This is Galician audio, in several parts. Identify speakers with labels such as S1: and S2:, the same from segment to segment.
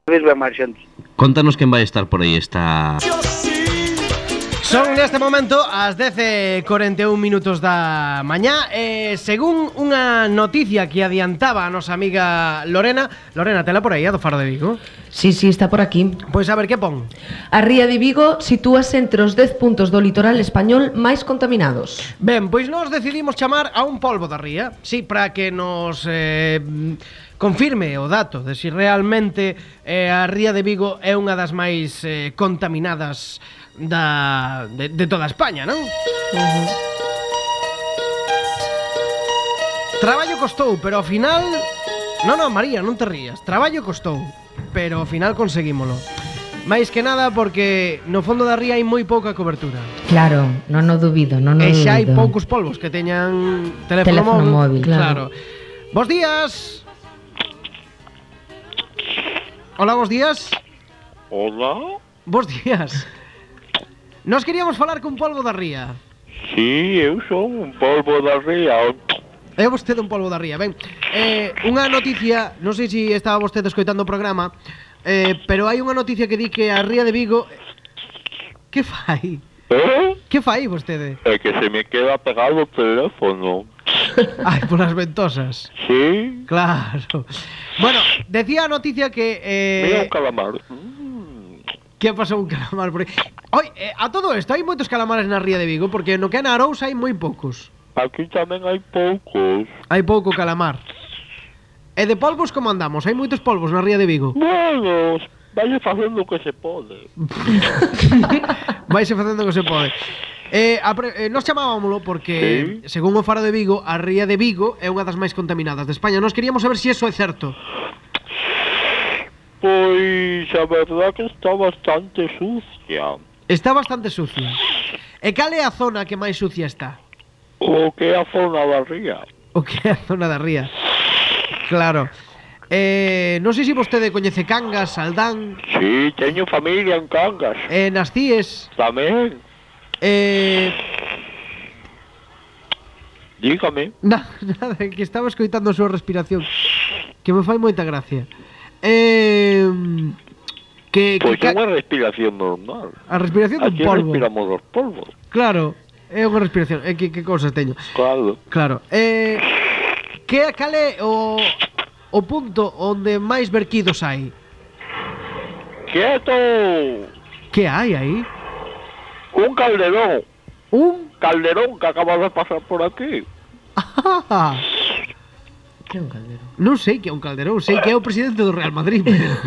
S1: vez ve máis xente.
S2: Contanos quen vai estar por aí esta...
S3: Son neste momento as 10:41 minutos da mañá. Según unha noticia que adiantaba a nosa amiga Lorena. Lorena, tela por aí, a do Faro de Vigo?
S4: Sí, está por aquí.
S3: Pois a ver, que pon?
S4: A ría de Vigo sitúase entre os 10 puntos do litoral español máis contaminados.
S3: Ben, pois nós decidimos chamar a un polvo da ría. Sí, para que nos confirme o dato de si realmente a ría de Vigo é unha das máis contaminadas de toda España, non? Traballo costou, pero ao final... Non, María, non te rías. Traballo costou, pero ao final conseguímolo. Mais que nada porque no fondo da ría hai moi pouca cobertura.
S4: Claro, non o dubido, non o dubido.
S3: E xa hai poucos polvos que teñan teléfono móvil. Claro. Bos días. Hola, bos días.
S5: Hola.
S3: Bos días. Nos queríamos falar cun polvo da ría.
S5: Sí, eu son un polvo da ría.
S3: É vostede un polvo da ría. Ben, unha noticia, non sei se estaba vostede escoitando o programa, pero hai unha noticia que di que a ría de Vigo... Que fai? Que fai vostede?
S5: É que se me queda pegado o teléfono.
S3: Ai, polas ventosas.
S5: Sí.
S3: Claro. Bueno, decía a noticia que...
S5: Mira un calamar.
S3: Que pasou un calamar por aí? Oi, a todo isto, hai moitos calamares na ría de Vigo, porque no que é na Arousa hai moi poucos.
S5: Aquí tamén hai poucos.
S3: Hai pouco calamar. E de polvos como andamos? Hai moitos polvos na ría de Vigo?
S5: Bueno, vaise facendo o que se pode.
S3: Vaise facendo o que se pode. Nos chamábamolo porque,
S5: sí,
S3: según o Faro de Vigo, a ría de Vigo é unha das máis contaminadas de España. Nos queríamos saber se iso é certo.
S5: Pois a verdad que está bastante sucia.
S3: Está bastante sucia. E cal é a zona que máis sucia está?
S5: O que é a zona da ría.
S3: O que é a zona da ría. Claro. Non sei se vostede coñece Cangas, Saldán.
S5: Sí, teño familia en Cangas.
S3: Nas Cíes.
S5: Tamén. Dígame.
S3: Nada, que estaba escoitando a súa respiración, que me fai moita gracia.
S5: Pois é unha respiración normal.
S3: A respiración dun polvo.
S5: Aquí respiramos os polvos.
S3: Claro, é unha respiración. Que cosas teño.
S5: Claro.
S3: Cal é o punto onde máis verquidos hai?
S5: Quieto.
S3: Que hai aí?
S5: Un calderón.
S3: Un
S5: calderón que acaba de pasar por aquí.
S4: Que é un calderón?
S3: Non sei que é un calderón, sei que é o presidente do Real Madrid, pero...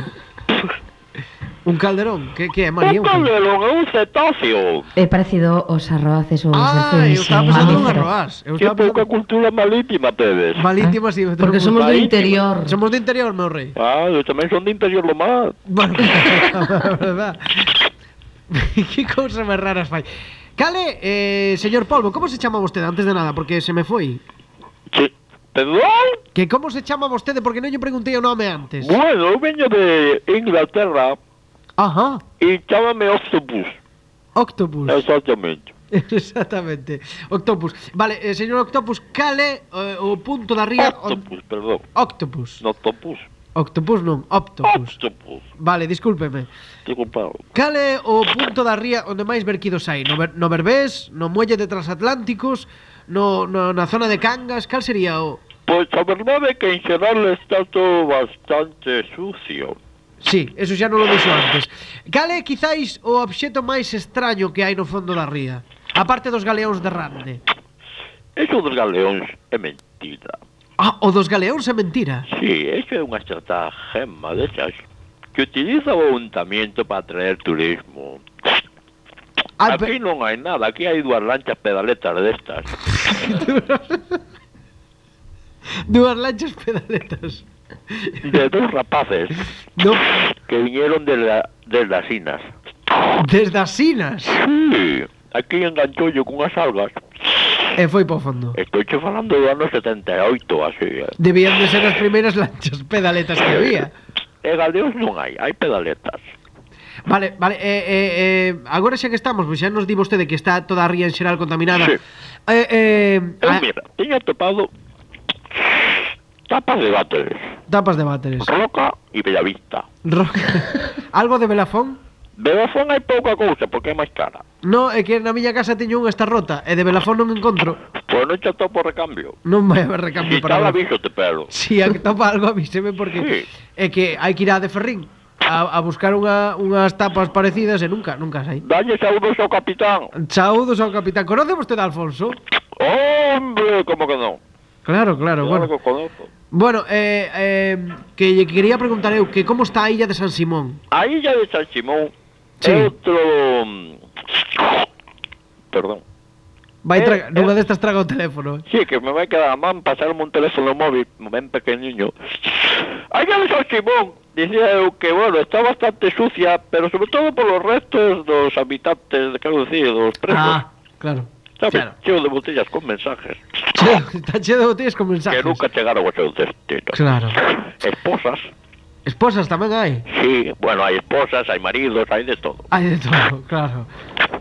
S3: Un calderón, que é, María?
S5: Un calderón é un cetáceo.
S4: É parecido aos arroaces ou aos
S3: eu estaba pensando nun arroaz.
S5: Que pouca cultura marítima tedes.
S3: Marítima, sí.
S4: Porque somos do interior.
S3: Somos do interior, meu rei.
S5: Eu tamén son do interior do mar.
S3: Bueno, verdad. Que cousa máis raras fai. Cale, señor Polvo, como se chama vostede antes de nada? Porque se me foi.
S5: Sí. Perdón?
S3: Que como se chama vostede? Porque non lle preguntei o nome antes.
S5: Bueno, eu veño de Inglaterra.
S3: Ajá.
S5: E chámame Octopus.
S3: Octopus.
S5: Exactamente.
S3: Exactamente. Octopus. Vale, señor Octopus, cale o punto da ría...
S5: Octopus, perdón.
S3: Octopus.
S5: No, Octopus.
S3: Octopus non, Octopus.
S5: Octopus.
S3: Vale, discúlpeme.
S5: Disculpado.
S3: Cale o punto da ría onde máis verquidos hai? No Berbés, no muelle de Transatlánticos, na zona de Cangas, cal sería o...?
S5: Pois a verdade é que en xeral está todo bastante sucio.
S3: Sí, eso xa non lo dixo antes. Cal é quizáis o obxecto máis extraño que hai no fondo da ría? A parte dos galeóns de Rande.
S5: Eso dos galeóns é mentira.
S3: O dos galeóns é mentira?
S5: Sí, eso é unha estratagema desas que utiliza o ayuntamiento para atraer turismo. Aquí non hai nada, aquí hai dúas lanchas pedaletas destas.
S3: Dúas lanchas pedaletas.
S5: De dos rapaces que viñeron desde as Sinas.
S3: Desde as Sinas?
S5: Sí, aquí enganchoulle cunhas algas.
S3: E foi po fondo.
S5: Estou che falando do ano 78, así.
S3: Debían de ser as primeiras lanchas pedaletas que había.
S5: E galeóns non hai pedaletas.
S3: Vale, agora xa que estamos, pois xa nos di vostede que está toda a ría en xeral contaminada.
S5: Sí. Mira, teño atopado Tapas de váteres.
S3: Tapas de váteres.
S5: Roca e Bellavista.
S3: Algo de Belafón?
S5: De Belafón hai pouca cousa, porque é máis cara.
S3: No, é que na miña casa teño unha está rota e de Belafón non encontro.
S5: Pois non che topo recambio.
S3: Non vai haber recambio
S5: Si
S3: para
S5: tal
S3: Belafón.
S5: aviso te pero.
S3: Si a que topa algo avíseme porque
S5: Sí.
S3: é que hai que ir a de Ferrín a buscar unhas tapas parecidas e nunca sai.
S5: Dalle saúdos ao capitán.
S3: Saúdos ao capitán. Conoce vostede a Alfonso?
S5: Hombre, como que non?
S3: Claro,
S5: Claro
S3: bueno.
S5: que o conozco.
S3: Bueno, que lle quería preguntar eu que como está a illa de San Simón?
S5: A illa de San Simón
S3: Sí.
S5: é outro... Perdón.
S3: Nunha destas traga o teléfono.
S5: Sí, que me vai quedar a man pasarme un teléfono móvil ben pequeniño. A illa de San Simón, dicía eu que, bueno, está bastante sucia, pero sobre todo por los restos dos habitantes, quero dicir, dos presos.
S3: Claro.
S5: Sabes,
S3: Claro.
S5: cheo de botellas con mensajes
S3: Está cheo de botellas con mensajes.
S5: que nunca chegaron ao seu destino.
S3: Claro.
S5: Esposas,
S3: Esposas tamén hai.
S5: sí, bueno, hai esposas, hai maridos, hai de todo.
S3: Hai de todo, claro.